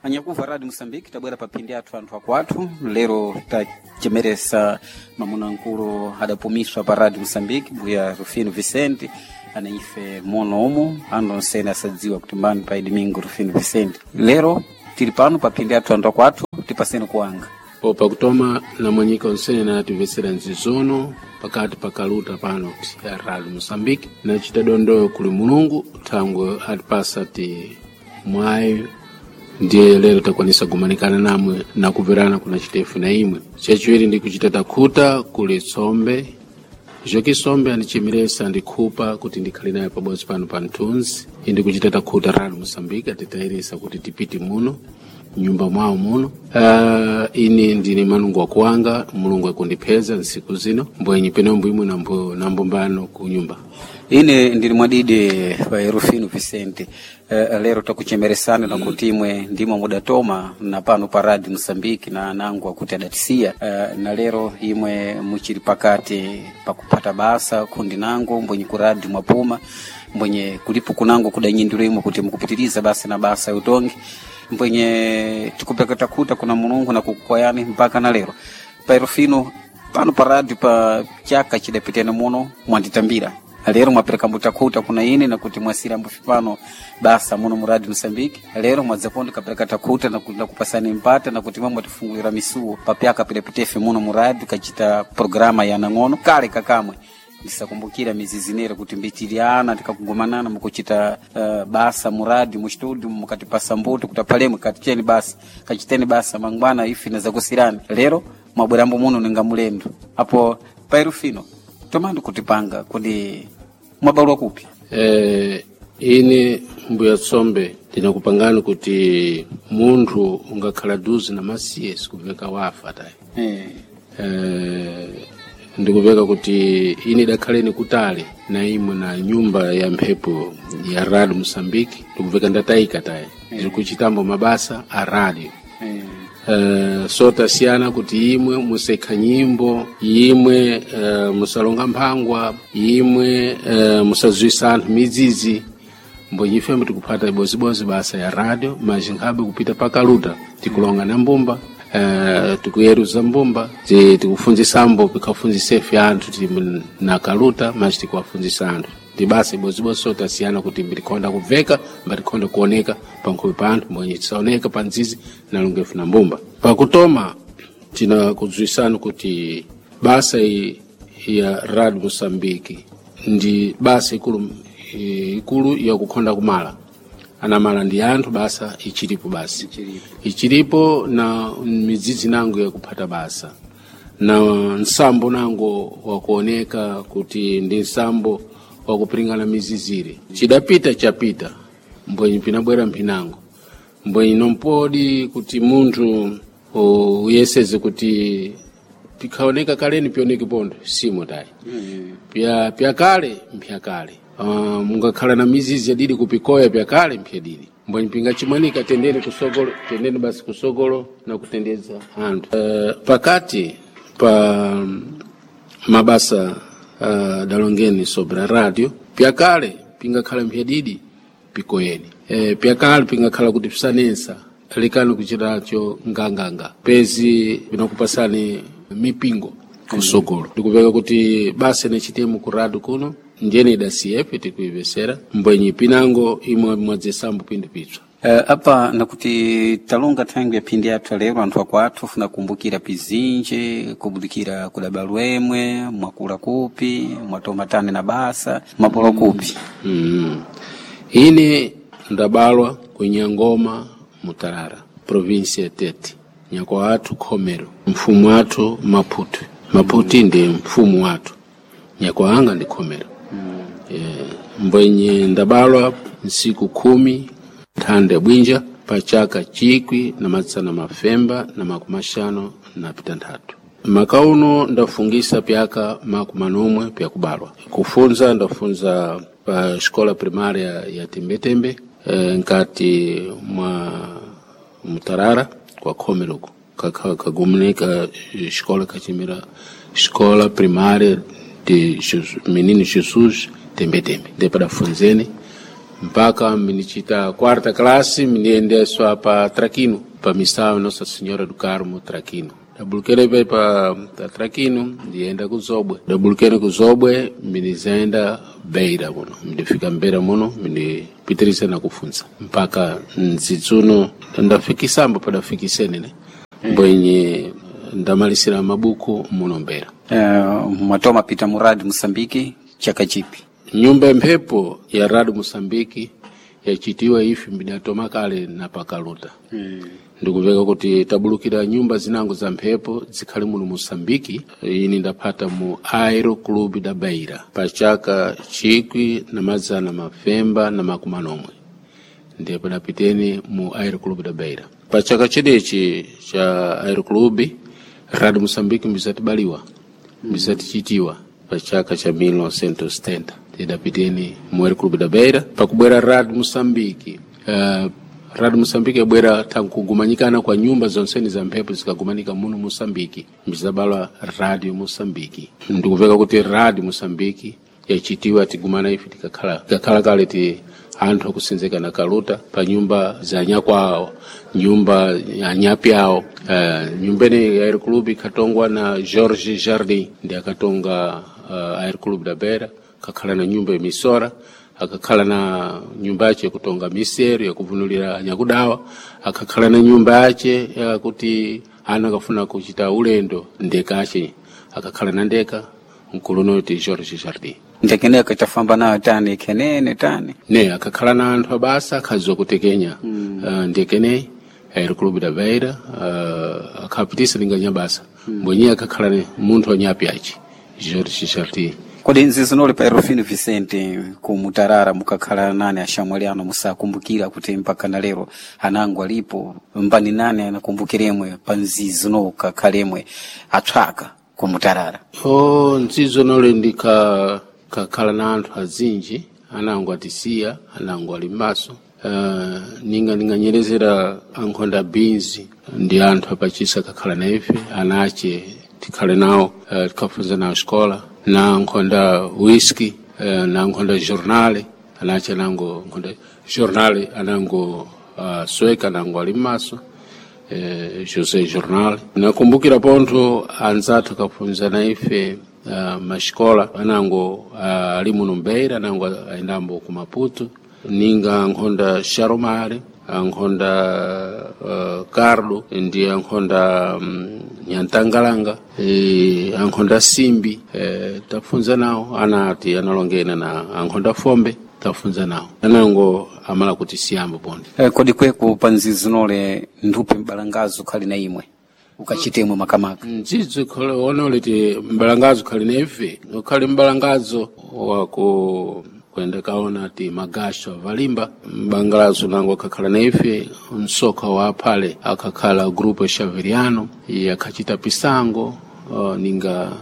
Anyakuva Radio Mosambiki, tabwera pa phindi athu anthu akwathu. Lero tachemeresa mamuna nkulu adapumiswa pa Radio Mosambiki, Mbuya Rufino Vicente, ana ife mono umu anthu onsene asadziwa kuti mbani pa Domingo Rufino Vicente. Lero tili pano pa phindi athu anthu akwathu, tipaseni kuwanga. Popa kutoma namwenyika onsene natimvetsera nzizono pakati pa kaluta pano ya Radio Mosambiki, nachita dondoyo kuli Mulungu thangwe atipasa ti mwayi, ndiye lero takwanisa kumanikana namwe nakuverana kuna chitefu na imwe. Chachiwiri ndi kuchita takhuta kuli tsombe Joki Sombe andichemeresa andikhupa kuti ndikhale naye pabodzi pano pa mthunzi. Indi kuchita takhuta Radio Mosambiki atitayirisa kuti tipite muno nyumba mwawo muno. Ini ndine manungu wakuwanga, Mulungu akundipeza nsiku zino mbwenyi penombo imwe nambo nambombano ku nyumba. Ine ndili mwadidi pa Rufino Vicente. Lero takuchemeresana na kuti imwe ndimo mudatoma na pano pa Radio Mosambiki na nangu akuti adatisiya. Na lero imwe muchili pakati pakupata basa kundi nangu mbwenye ku radio mwapuma, mbwenye kulipo kunangu kudanyindiro imwe kuti mukupitiriza basa na basa utongi, mbwenye tikupeka takuta kuna Mulungu na kukukwayani mpaka na lero. Pa Rufino pano pa radio pa chaka chidapitene muno mwanditambira, lero mwapereka mbutakuta kuna ine na kuti mwasira mbufi pano basa muno mu Radio Mosambiki. Lero mwadzapondo kapereka takuta na, na kupasani mpata na kuti mwe mwatifungulira misuwo papyaka pilapitefe muno mu radio kachita programa ya nang'ono kale kakamwe ndisakumbukira mizizi kuti mbitiliana tikakugumanana mukuchita basa muradi mu studio mukatipasa mbuto kuti apalemwe katicheni basa kachiteni basa mangwana ife nazakusirani. Lero mwabwerambo muno ninga mulendo apo pairufino tomandi kutipanga kuti mwabalwa kupi? Ine mbuya Tsombe ndinakupangani kuti munthu ungakhala duzi na masiye sikuveka wafa tayi. Ndikuveka kuti ine idakhaleni kutali na imwe na nyumba ya mphepo ya Radio Mosambiki, ndikuveka ndatayika tayi, ndiri kuchitambo mabasa a radio. So tasiyana kuti imwe musekha nyimbo, imwe musalonga mphangwa, imwe musazwisa anthu midzidzi, mbonyi ifembe tikuphata ibozibodzi basa ya radio maji nkhabe kupita pakaluta tikulonga na mbumba, tikuyeruza mbumba, tikufunzisambo pikhafunzisefe anthu tili na kaluta maji tikuwafunzisa anthu ndi basa ibozibodzi. So tasiyana kuti mbitikhonda kubveka mbatikhonda kuoneka pankhope pa anthu mbwenye tisaoneka pa nzizi nalongefu na mbumba. Pakutoma tinakudziwisani kuti basa iyi ya Radio Mosambiki ndi basa ikulu ikulu yakukhonda kumala anamala ndi anthu, basa ichilipo, basi ichilipo na midzidzi nango yakuphata basa na nsambo nango wakuoneka kuti ndi nsambo wakupiringana mizizire. Chidapita chapita mbwenyi pinabwera mphinango mbwenyi nompodi kuti munthu uyeseze kuti pikhaoneka kaleni pioneke pondo simo tayi. Pya pyakale mpyakale, mungakhala na mizizi yadidi kupikoya pyakale mpyadidi mbwenyi pingachimwanika tendeni kusogolo, tendeni basi kusogolo na kutendeza anthu. Pakati pa mabasa dalongeni sobre a radio, pyakale pingakhala mpyadidi pikoyeni, pyakale pingakhala kuti pisanensa lekani kuchitacho nganganga pezi pinakupasani mipingo kusogolo. Ndikupeka kuti basa nechitemo ku radio kuno ndiyene idasiyepe tikuipesera mbwenyi pinango imwe mwadzisambo pindu pitswa. Apa nakuti talonga thangwi ya phindi athu lero anthu akwathu funa kumbukira pizinji kubudikira kudabalwemwe mwakula kupi mwatomatane na basa mwapolo kupi. Ine ndabalwa ku Nyangoma Mutarara, provinsi ya Tete, nyako athu Khomero, mfumu athu Maputi. Maputi ndi mfumu wathu, nyako anga ndi Khomero. Mbwenye ndabalwa nsiku 10 nthanda bwinja pa chaka 1956. Maka uno ndafungisa pyaka 40 pyakubalwa. Kufunza ndafunza pa xikola primária ya Tembetembe, nkati mwa Mutarara kwa Khomeroko kagumuneka xikola kachimira Escola Primária de Jesus, Menino Jesus Tembetembe, ndipo dafunzeni. Mpaka minichita quarta classe miniendeswa pa Traquino, pa missão Nossa Senhora do Carmo Traquino. Dabulukene pe pa Traquino ndienda ku Zobwe. Dabulukene ku Zobwe minizenda Beira muno. Ndifika Beira muno minipitiriza na kufunza mpaka nzitsuno ndafikisambo padafikisene ne mbwenye ndamalisira mabuku muno Beira. Mwatoma pita muradi Mosambiki chaka chipi? Nyumba mphepo ya Rado Mosambiki yachitiwa ifi mbidatoma kale na pakaluta. Ndikuveka kuti tabulukira nyumba zinango za mphepo zikhali muno Mosambiki. Ini ndapata mu Aero Club da Beira pa chaka 1971 ndiye padapiteni mu Aero Club da Beira. Pa chaka chidichi cha Aero Club Rado Mosambiki mbizatibaliwa mbizatichitiwa pa chaka cha 1970 tidapiteni mu Aero Club da Beira. Pakubwera Rado Mosambiki Rado Mosambiki yabwera tankugumanyikana kwa nyumba zonseni za mphepo zikagumanika muno Mosambiki mbizabalwa Radio Mosambiki. Ndikuveka kuti Radio Mosambiki yachitiwa tigumana ife tikakhala kale ti anthu akusenzeka na kaluta pa nyumba za nyakwawo, nyumba ya nyapi awo. Nyumba ine ya Aero Club ikatongwa na George Jardim, ndi akatonga Aero Club da Beira, kakhala na nyumba ya misora, akakhala na nyumba yace yakutonga misero yakuvunulira nyakudawa, akakhala na nyumba yace yakuti ana akafuna kuchita ulendo ndeka ace akakhala na ndeka mkuluno ti George Jardim. Ndekeneko itafamba nayo tani kenene tani ne akakhala na anthu abasa akhadziwa kutekenya. Ndekene Aero Club da Beira akhapitisa linganya basa mbwenye akakhala ne munthu wanyapi aci George Jardim. Kodi nzizinoli pa Erofino Vicente ku Mutarara mukakhala nane ashamwali ano musakumbukira kuti mpaka na lero anango alipo mbani nane anakumbukiremwe pa nzizino kakhalemwe atswaka ku Mutarara? O nzizo nole ndika kakhala na anthu azinji anango atisiya anango ali m'maso. Ninga ninganyerezera ankhonda binzi ndi anthu apachisa kakhala na ife anache tikhale nawo tikhafunza nawo xikola na nkhonda whisky na nkhonda journale anache anango nkhonda journale anango sweka anango ali m'maso José Jornal. Nakumbukira pontho anzathu akafunza na ife maxikola anango ali muno Mbeira anango ayendambo ku Maputo ninga nkhonda Sharomare ankhonda Carlo ndi ankhonda Nyantangalanga ankhonda Simbi tafunza nawo anati analongena na ankhonda Fombe tafunza nawo anango amala kuti siyambo ponde. Kodi kweku pa nzizinole nduphe mbalangazo khali na imwe ukachitemwe makamaka? Nzidzo onole ti mbalangazo khali na ife ukhali mbalangazo waku kwenda kaona ti magasho avalimba mbangalazo nango akakhala na ife msoka wa aphale akakhala grupo Xaveriano akhachita pisango ninga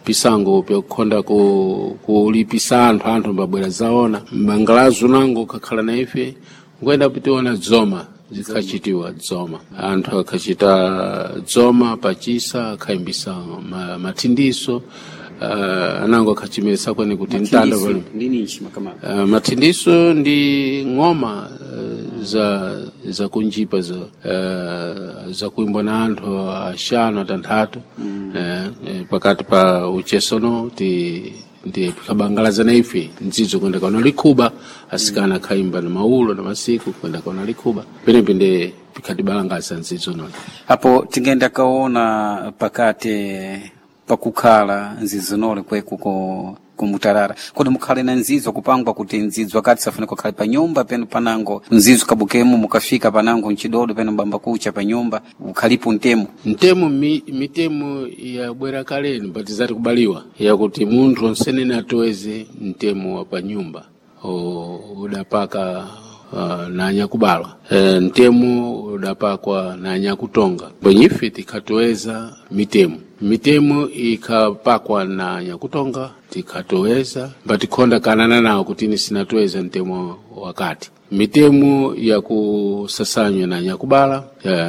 pisango pyakukhonda kulipisa anthu mbabwera zaona mbangalazo nango kakhala na ife nkwenda pitiona dzoma zikhachitiwa dzoma anthu akhachita dzoma pachisa akhayimbisa mathindiso anango akhachimisa kwene kuti mtanda mathindiso ndi ng'oma za kunjipa za kuimbwa na anthu axanu atanthatu pakati pa uchesono ti ndi tikabangalaza na ife ndzidzo kwenda kaona likhuba asikana akhayimba na maulo na masiku kwenda kaona likhuba penepe ndi pikhatibalangaza ndzidzo noni apo tingenda kaona pakati pakukhala nzizinole kweku kumutarara kodi mukhale na nzidzo kupangwa kuti nzidzo akati safuna kukhale pa nyumba penu panango nzidzo kabukemo mukafika panango mchidodo penu mbamba kucha pa nyumba ukhalipo ntemo ntemo mitemo yabwera kaleni patizati kubaliwa yakuti munthu onsenene atoweze mtemo wa pa nyumba udapaka na anyakubalwa ntemo udapakwa na anyakutonga bwenyife tikhatoweza mitemo ikhapakwa na anyakutonga tikhatoweza mbatikhonda kanana nawo kuti ini sinatoweza mtemo wakati mitemo yakusasanywa na anyakubala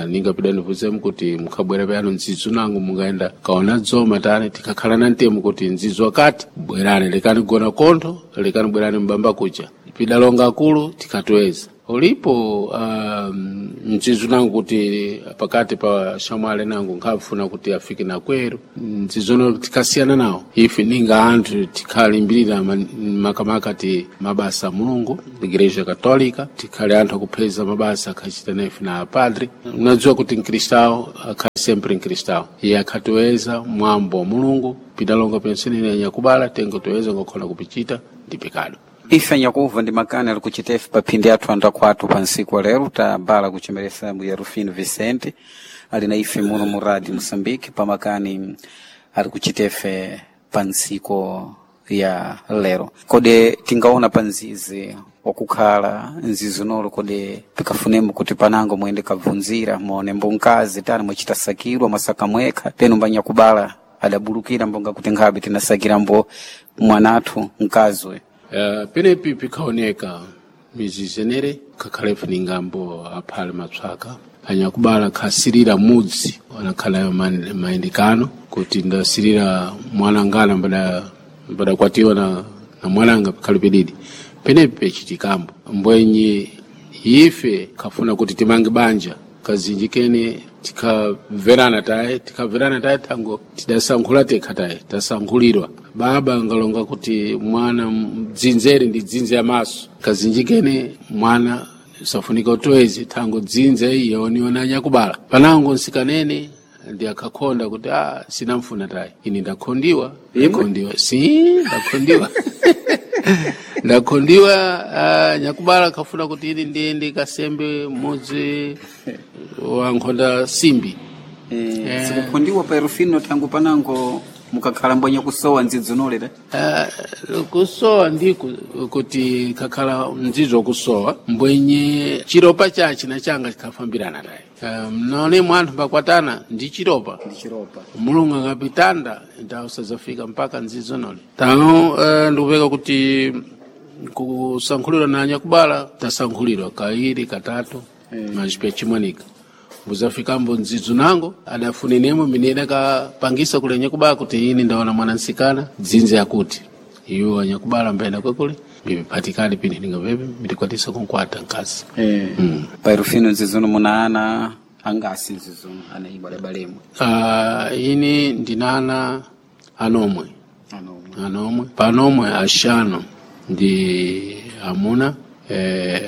ninga pidanivuzemu kuti mukhabwera payano ndzidzo nangu mungaenda kaona dzoma tani tikakhala na ntemo kuti ndzidzo wakati bwerani lekani gona kontho lekani bwerani mbamba kucha Pidalonga akulu tikatweza ulipo mzizu nangu kuti pakati pa shamwale nangu nkhafuna kuti afike na kweru mzizono tikasiyana nawo ife ninga anthu tikhalimbirira makamaka ti mabasa a Mulungu igreja Katolika, tikhale anthu akupheza mabasa akhachita nafe na apadre. Unadziwa kuti mkristawo akhali sempre mkristawo, iye akhatiweza mwambo wa Mulungu pidalonga pensenene anyakubala tengo toweza ngokhola kupichita ndi pekado. Ife anyakuva ndi makani ali kuchitefe pa phindi athu anthu akhwathu pa ntsiku wa lero tabala kuchemeresa mbuya Rufino Vicente ali na ife muno mu Radio Moçambique pa makani ali kuchitefe pa ntsiku ya lero. Kodi tingaona pa nzizi wakukhala nzizi nolo, kodi pikafunemo kuti panango muyende kabvunzira muone mbonkazi tani mwachita sakirwa mwasaka mwekha penu mbanyakubala adabulukira mbonga kuti nkhabe tinasakira mbo mwanathu mkazi uyu. Penepi pikhaoneka mizizenere kakhalefu ningambo aphale matswaka anyakubala khasirira mudzi anakhala mayendekano kuti ndasirira mwanangana mbadakwatiwa na mwananga pikhali pedidi penepi pechitikambo mbwenye ife khafuna kuti timange banja kazinji kene tikhamverana taye, tikhamverana taye thango tidasankhula tekha taye tasankhulirwa baba ngalonga kuti mwana dzinzere ndi dzinze ya maso kazinji kene mwana safunika utowezi thango dzinze iyo niona anyakubala panango nsikanene ndi akakhonda kuti a sinamfuna taye ini ndakhondiwa ndakhondiwa si ndakhondiwa ndakhondiwa nyakubala khafuna kuti ini ndiyende kasembe mudzi wa nkhonda simbi. Sikukhondiwa pa Rufino tangu panango mukakhala mbwenya kusowa ndzidzo nolera. Kusowa ndi kuti kakhala mdzidzo kusowa mbwenye chiropa chachi na changa chikhafambirana taye. Mnone mwanthu mbakwatana ndi chiropa. Ndi chiropa. Mulungu akapitanda ndawo sazafika mpaka ndzidzo nole tano. Ndikupeka kuti kusankhulirwa na anyakubala tasankhulirwa kairi katatu machipe chimwanika mbuzafikambo ndzidzu nango adafunenemo mine akapangisa kule anyakubala kuti ini ndaona mwana nsikana dzinze akuti iwo anyakubala mbaenda kwekule mbiphatikali pini ningapepe mitikwatisa kunkwata nkazi. Pa Rufino nzizono muna ana angasi nzizono ana ibo adabalemo? Ini ndinana anomwe. Anomwe. Anomwe panomwe ashanu ndi amuna,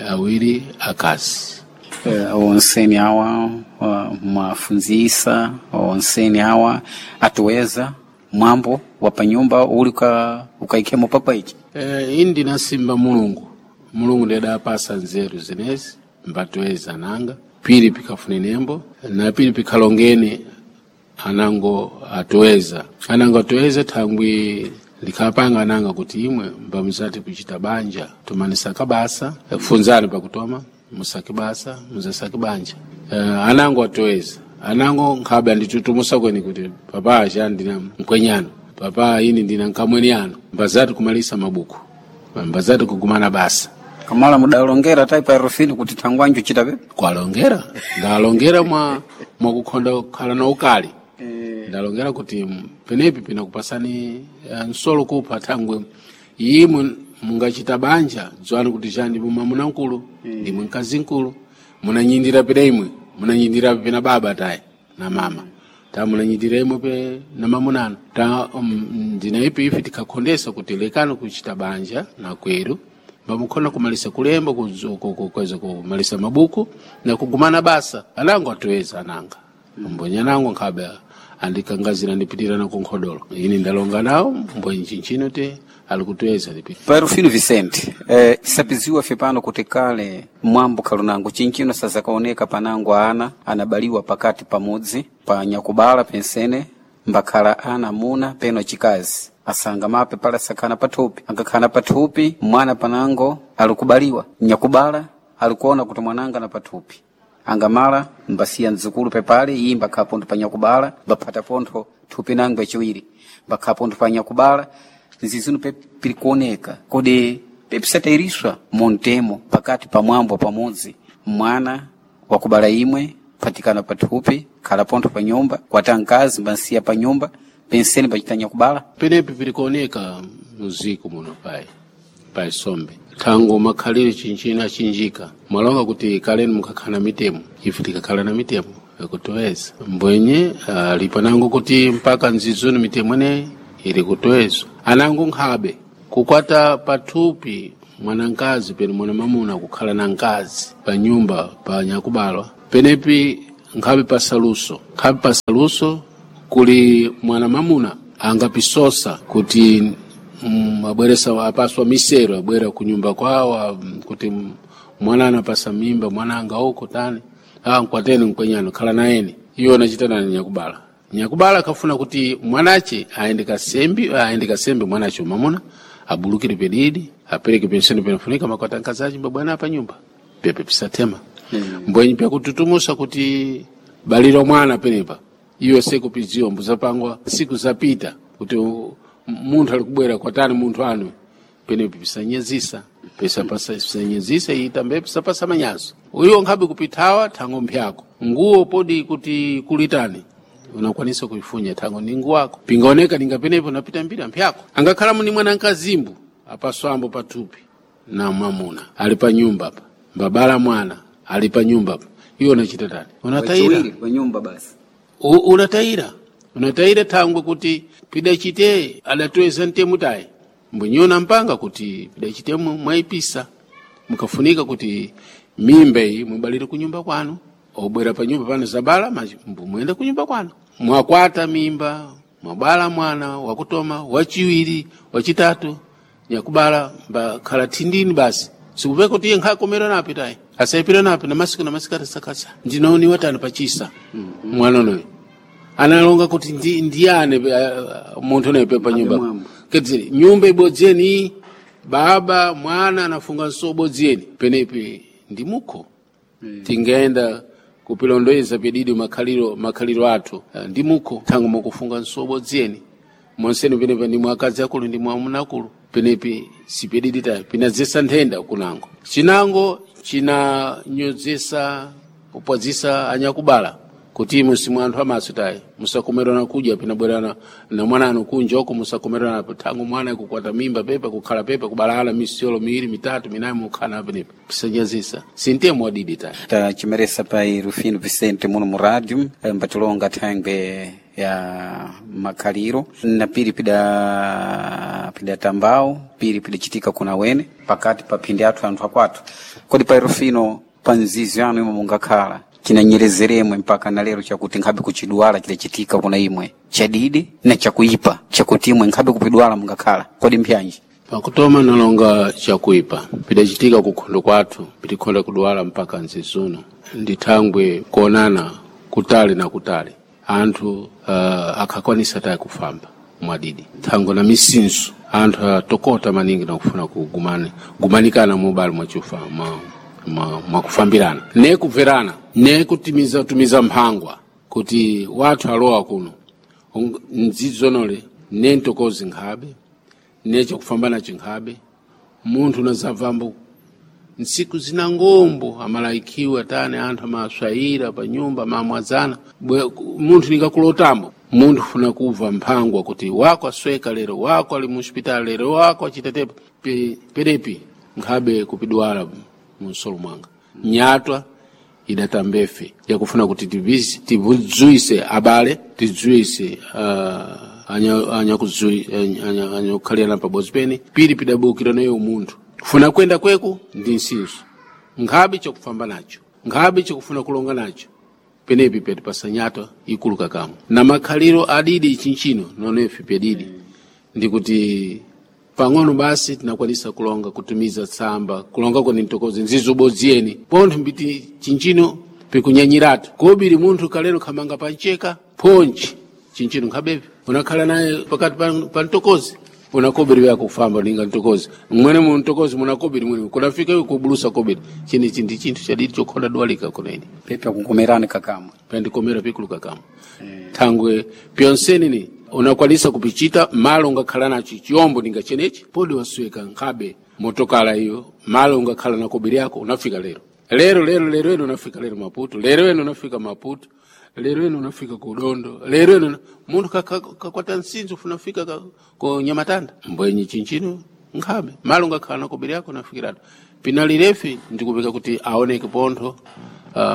awiri akazi. Onseni awa mwafunzisa onseni awa atuweza mwambo wa panyumba uli ukaikhemo pakwa ichi? Ini ndinasimba Mulungu, Mulungu ndiye adapasa nzeru zenezi mbatoeza nanga pili pikafune nembo na pili pikhalongene anango atoeza anango atoeza thangwi likhapanga ananga kuti imwe mbamuzati kuchita banja tumanisaka basa funzani pakutoma musake basa muzasake banja. Anango atoeza anango nkhabe anditutumusa kweni kuti papa acha ndina mkwenyano papa ini ndina nkamweni ano mbazati kumalisa mabuku mbazati kugumana basa. Kamala mudalongera tai pa Rufino kuti thangwanju chita pepe? Kwalongera ndalongera mwa kukhonda kukhala na ukali ndalongera kuti penepi pinakupasani nsolo kupha thangwe imwe mungachita banja dziwani kuti chani mwamuna mkulu ndimwe mkazi mkulu munanyindira pena imwe munanyindira pena baba taye na mama ta munanyindira imwe pe na mamunano ta ndina ipi ife tikakhondesa kuti lekani kuchita banja na kweru bamukhona kumalisa kulemba kuweza kumalisa mabuku na kugumana basa anango atuweza ananga mbwenye anango nkhabe andikangazira ndipitira na kunkhodolo ini ndalonga nawo mbwenye chinchino te alikutuweza ndipita. Pa Rufino Vicente, sapiziwa fe pano kuti kale mwambo khalunango chinchino sazakaoneka panango ana anabaliwa pakati pamudzi pa nyakubala pensene mbakhala ana amuna peno achikazi asanga mape pala sakhana pathupi ankakhana pathupi mwana panango alikubaliwa nyakubala alikuona kuti mwananga na pathupi angamala mbasiya mdzukulu pepale iyi mbakhala pontho pa nyakubala mbaphata pontho thupi nango yachiwiri mbakhala pontho pa nyakubala nzizino pirikuoneka kodi pepisatairiswa montemo pakati pa mwambo pamodzi mwana wakubala imwe patikana pathupi khala pontho pa nyumba kwata mkazi mbansiya pa nyumba penseni pachita nyakubala. Penepi pilikuoneka muziko muno pai. Pa isombe thango makhaliro chinchino achinjika mwalonga kuti kaleni mukhakhala na mitemo, ife tikakhala na mitemo yakutoweza mbwenye alipo nango kuti mpaka nzizoni mitemo ineyi ili kutowezwa anango nkhabe kukwata pathupi mwanankazi pene mwana mamuna kukhala na nkazi pa nyumba pa nyakubalwa penepi nkhabe pasaluso, nkhabe pasaluso kuli mwana mamuna angapisosa kuti abweresa apaswa misero abwera kunyumba kwawo kuti mwana anapasa mimba mwana anga uko tani nkwateni nkwenyano khala nayeni iwo anachita nani nyakubala. Nyakubala akafuna kuti mwanache aende kasembi, aende kasembi mwanache mamuna abulukire pedidi apereke penseni penafunika makwata nkazachi mbabwana pa nyumba pepe pisatema mbwenyi pyakututumusa kuti baliro mwana penepa iwe sekupidziwa mbuzapangwa siku zapita kuti munthu alikubwera kwatani munthu anu penepo pisanyezisa pisanyezisa itambe pisapasa manyazo uyo nkhabe kupithawa thango mphyako nguwo podi kuti kulitani unakwanisa kuifunya thango ni nguwo ako pingaoneka ninga penepo napita mbira mphyako angakhala muni mwana nkazimbu apaswambo pathupi na mwamuna ali pa nyumba pa mbabala mwana ali pa nyumba pa iwo unachita tani unatayira pa nyumba basi unatayira unatayira thangwe kuti pidachite adatoweza mtemu tayi mbwenyona mpanga kuti pidachite mwaipisa mukafunika kuti mimba iyi mubalire kunyumba kwanu obwera pa nyumba pano zabala muyende kunyumba kwanu mwakwata mimba mwabala mwana wakutoma wachiwiri wachitatu nyakubala mbakhala thindini basi sikupeka kuti iye nkhakomera napi tayi asayipira napi na masiku na masiku atasakasa ndinaoniwa tani pachisa mwana unoyo analonga kuti ndiyane munthu unoyo pa nyumba kedzere nyumba ibodziyeni baba mwana anafunga nso bodziyeni penepi ndi mukho tingayenda kupilondoeza pedidi makhaliro makhaliro athu ndi mukho thango mukufunga nso bodziyeni monseni penepa ndi mwakazi akulu ndi mwamuna akulu penepi sipedidi tayi pinadzesa nthenda kunango chinango chinanyozesa kupwadzisa anyakubala kuti musimu anthu amaso tayi musakomerana kudya pinabwerana na mwana kunja oko musakomerana thango mwana kukwata mimba pepa kukhala pepa kubalala misiyolo miwiri mitatu minayi mukhala penepa pisanyazisa sintemo wadidi tayi tachimeresa pai Rufino Vicente muno mu rádio mbatilonga thangwe ya makhaliro na piri pida pidatambao piri pidachitika kuna wene pakati pa phindi athu anthu akwathu kodi pai Rufino pa nzizi yanu imwe mungakhala chinanyerezeremwe mpaka na lero chakuti nkhabe kuchidwala chidachitika kuna imwe chadidi na chakuipa chakuti imwe nkhabe kupidwala mungakhala kodi mpyanji pakutoma nalonga chakuipa pidachitika kukhondo kwathu pitikhonda kudwala mpaka nzizuno ndithangwe kuonana kutali na kutali anthu akhakwanisa tayi kufamba mwadidi thango na misinso anthu atokota maningi nakufuna kugumana gumanikana mubali mwachufa mwakufambirana ne kubverana ne kutimiza tumiza mphangwa kuti wathu alowa kuno nzidzonole ne ntokozi nkhabe ne chakufamba nacho nkhabe munthu unazabvambo ntsiku zina ngombo amalaikiwa tani anthu amaswayira pa nyumba amamwazana munthu ningakulotambo munthu funa kubva mphangwa kuti wako asweka lero wako ali muhospitali lero wako achitetepa penepi nkhabe kupidwala munsolo mwanga nyatwa idatambefe yakufuna kuti tivudzuyise abale tidzuyise anyakukhalirana pabodzi pene pili pidabukira nayo munthu funa kwenda kweku ndi nsinso nkhabe chakufamba nacho nkhabe chakufuna kulonga nacho penepi peti pasanyatwa ikulu kakamwe na makhaliro adidi chinchino nonefe pedidi ndikuti pang'ono basi tinakwanisa kulonga kutumiza tsamba kulonga kweni ntokozi nzizobodziyeni pontho mbiti chinchino pikunyanyiratu kobiri munthu kalero khamanga pancheka phonchi chinchino nkhabepe unakhala naye pakati pa ntokozi unakobiri wako kufamba ninga ntokozi mwene mu ntokozi munakobiri mwene kunafika iwe kubulusa kobiri chinichi ndi chinthu chadidi chokhonda dwalika kuneni pepe akukomerani kakamwe pendikomera pikulu kakamwe thangwe pyonseni ni unakwanisa kupichita malo ungakhala nacho chiyombo ninga chenechi podi wasweka nkhabe motokala iyo malo ungakhala na kobiri yako unafika lero lero lero lero eno unafika lero Maputo lero eno unafika Maputo lero eno unafika ku Dondo lero eno munthu kakwata nsinzo unafika ku Nyamatanda mbwenyi chinchino Nkhabe malo ngakhala na kobiri yako nafikiratu pinalirefi ndikupeka kuti aoneke pontho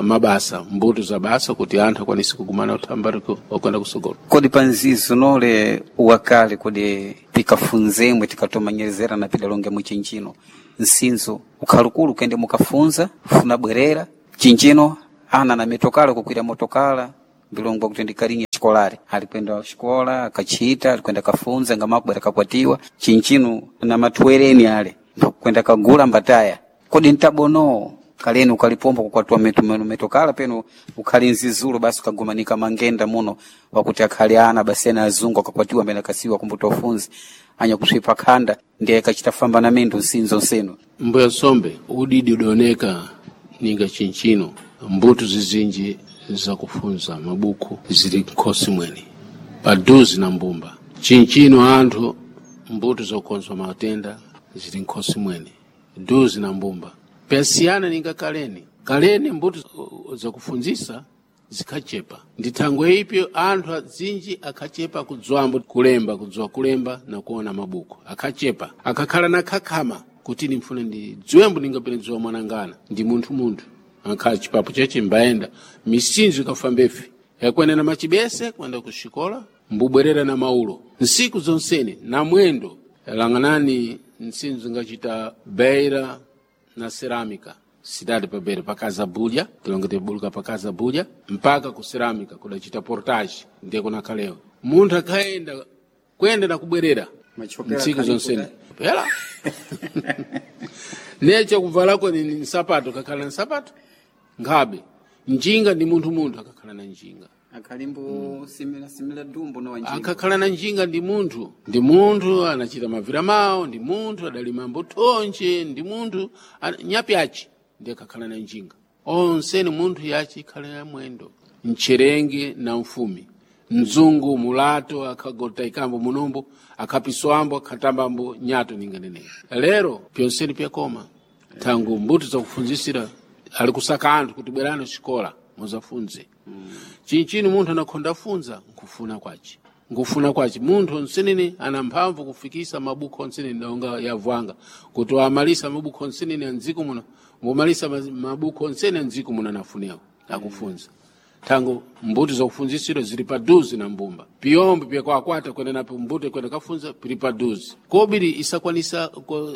mabasa mbuto za basa kuti anthu akwanise kugumana uthambari okwenda kusogolo. Kodi pa nzizo nole wakale kodi tikafunzemwe tikatomanyezera na pidalonge muchinchino nsinzo ukhalukulu kende mukafunza funa bwerera chinchino ana na mitokala kukwira motokala mbilongwa kuti ndikalinye xikolari alikwenda xikola akachita alikwenda kafunza ngamakubwera kakwatiwa chinchino na matwereni ale kwenda kagula mbataya kodi ntabono kaleni ukalipomba kukwatiwa metokala peno ukhali nzizulo basi ukagumanika mangenda muno wakuti akhali ana basi ena azungu akakwatiwa mbene akasiwa kumbuta ufunzi anya kuswipa khanda ndiye akachita famba na mindu nsinzo nsenu. Mbuya sombe udidi udaoneka ninga chinchino mbuto zizinji zakufunza mabuku zili nkhosi mwene paduzi na mbumba chinchino anthu mbuto zokonzwa matenda zili nkhosi mwene duzi na mbumba pyasiyana ninga kaleni kaleni mbuto zakufunzisa zikhachepa ndi thangwe ipyo anthu azinji akhachepa kudzwambo kulemba kudziwa kulemba na kuona mabuku akhachepa akakhala na khakhama kuti nimfune ndidziwembo ningapene dziwa mwanangana ndi munthu munthu akhala chipapo cheche mbayenda misinzo ikafambefi yakwenda na machibese kwenda kuxikola mbubwerera na maulo nsiku zonsene na mwendo lang'anani nsinzo ingachita beira na cerâmica cidade pa beira pa Casa Bulha tilonge tibuluka pa Casa Bulha mpaka ku cerâmica kudachita portage ndiye kunakhalewa munthu akhayenda kuyenda na kubwerera Machokera ntsiku akhali zonsene pela neche kuvalako ni nsapato kakhala na nsapato nkhabe njinga ndi munthu munthu akakhala na njinga akhalimbo simila simila dumbo no wanjinga akakhala na njinga ndi munthu ndi munthu anachita mavira mawo ndi munthu adalima mbuthonje ndi munthu nyapyachi ndi akakhala na njinga onse ni munthu yachi ikhala ya mwendo mcherenge na mfumi mzungu mulato akhagota ikambo munombo akhapiswambo akhatambambo nyato ninganenera lero pyonseni pyakoma thangu mbuto zakufunzisira ali kusaka anthu kuti bwerani xikola muzafunze chinchini munthu anakhonda funza nkufuna kwace nkufuna kwace munthu onsenene ana mphamvu kufikisa mabuku onsenene donga yavwanga kuti wamalisa mabuku onsenene andziko muno ngomalisa mabuku onsene andziko muno anafunewo akufunza thangu mbuto zakufunzisiro zili paduzi na mbumba piyombe pyakwakwata kwenda napo mbuto kwenda kafunza pili paduzi kobiri isakwanisa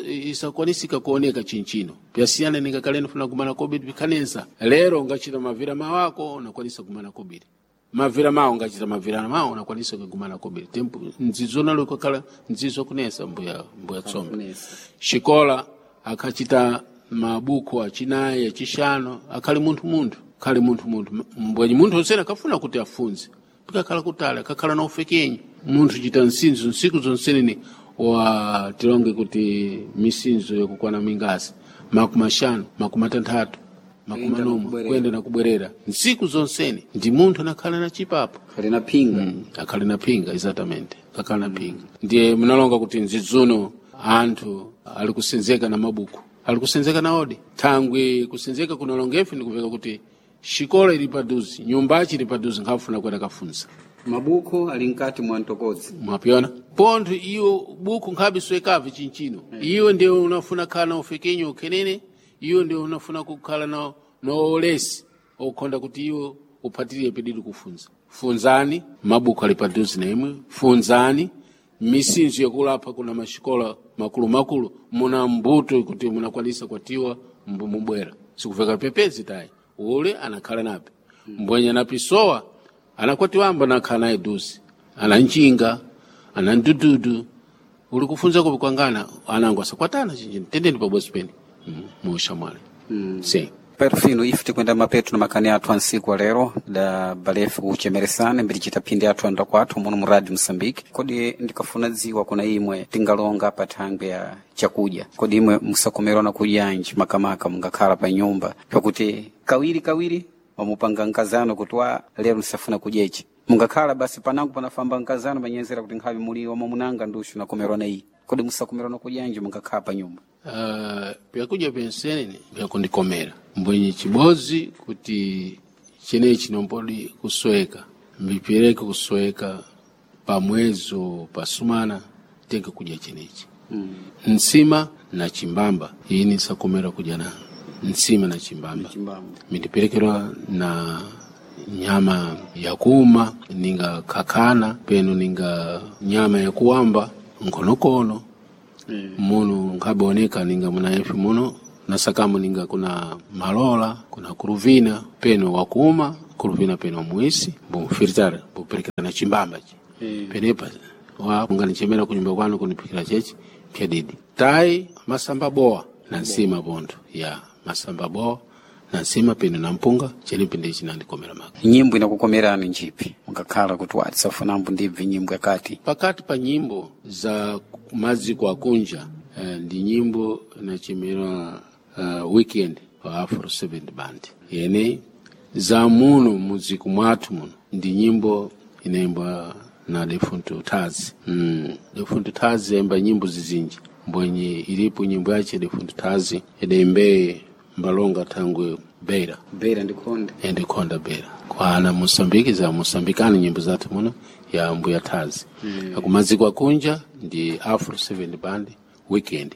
isakwanisika kuoneka chinchino pyasiyana ninga kaleni funa kumana kobiri pikhanensa lero ungachita mavira mawako unakwanisa kumana kobiri mavira mawo ungachita mavira mawo unakwanisa kugumana kobiri tempo nzizo nalo ikakhala nzizo kunesa mbuya mbuya tsombe Kunesa. xikola akhachita mabuku achinayi achixano akhali munthu munthu khali munthu munthu mbwenyi munthu onsene akafuna kuti afunze pikakhala kutali akakhala na ufekenyi munthu chita nsinzo nsiku zonsenene wa tilonge kuti misinzo yakukwana mingasi makumi axanu makumi atanthatu makumi Kuyenda na anomwe kubwerera. kuyenda na kubwerera nsiku zonsene ndi munthu anakhala na chipapo khali na phinga akhali na phinga exatamente akhala na phinga ndiye munalonga kuti nzidzuno anthu ali kusenzeka na mabuku ali kusenzeka na odi thangwi kusenzeka kunalongefe ndikuveka kuti xikola ili paduzi nyumbachi ili paduzi nkhafuna kwenda kafunza mabuku ali mkati mwa mtokodzi mwapyona pontho iwo buku nkhabe soyekavi chinchino iwe ndiye unafuna khala na ufekenyo ukhenene iwe ndiye unafuna kukhala na olesi okhonda kuti iwe uphatirire pedidi kufunza funzani mabuku ali paduzi na imwe funzani misinzo yakulapha kuna maxikola makulumakulu muna mbuto kuti munakwanisa kwatiwa mubwera sikuveka pepezi tayi ule anakhala nape mbwenye anapisowa anakwatiwamba nakhala naye duzi ana njinga ana ndududu uli kufunza kupikwangana anangu asakwatana chinjini tendeni pabwezi pene muushamwali si perfino ife tikwenda mapeto na makani athu ansiku wa lero da balefu kuchemeresana mbiri chita phindi athu anda kwathu muno mu radio Mosambike. Kodi ndikafuna dziwa kuna imwe tingalonga pa thangwe ya chakudya, kodi imwe musakomerwa na kudyanji makamaka mungakhala pa nyumba pakuti kawiri kawiri wamupanga nkazano kuti wa lero nsafuna kudya ichi mungakhala basi panango panafamba nkazano manyenzera kuti nkhavi muli wamumunanga ndushu nakomerwa na iyi kodi musakomerwa na kudyanji mungakhala pa nyumba. Vyakudya pensenene vyakundikomera mbwenye chibozi kuti chenechi nombodi kusweka mbipireke kusweka pa mwezi pa sumana tenge kudya chenechi Nsima na chimbamba, ini sakomera kudya na nsima na chimbamba. Chimbamba. Mindiperekerwa na nyama yakuuma ninga kakana peno ninga nyama yakuwamba nkonokono munu nkaboneka ninga muna efi muno nasakamu ninga kuna malola kuna kuruvina peno wakuuma kuruvina peno muisi bumfiritara buperekera na chimbamba chi penepa wa unganichemera kunyumba kwanu kunipikira chechi pyadidi tai masamba boa na nsima pontho ya masamba boa na nsima peno na mpunga chenipi ndi chinandikomera maka. Nyimbo inakukomerani njipi mukakhala kuti watisafunambo ndibvi nyimbo yakati? Pakati pa nyimbo za maziko akunja ndi nyimbo inachemerwa Weekend wa Afro 7 Band, yene za muno mudziku mwathu muno ndi nyimbo inaimbwa na Defunto Tazi. Defunto Tazi yaimba nyimbo zizinji mbwenye ilipo nyimbo yache Defunto Tazi idaimbeye mbalonga thangwe Beira. Beira ndikonde. Endikonda Beira kwana Mosambiki za Mosambikani nyimbo zathu muno ya mbuya Tazi. Akumaziko akunja ndi Afro 7 Band, Weekend.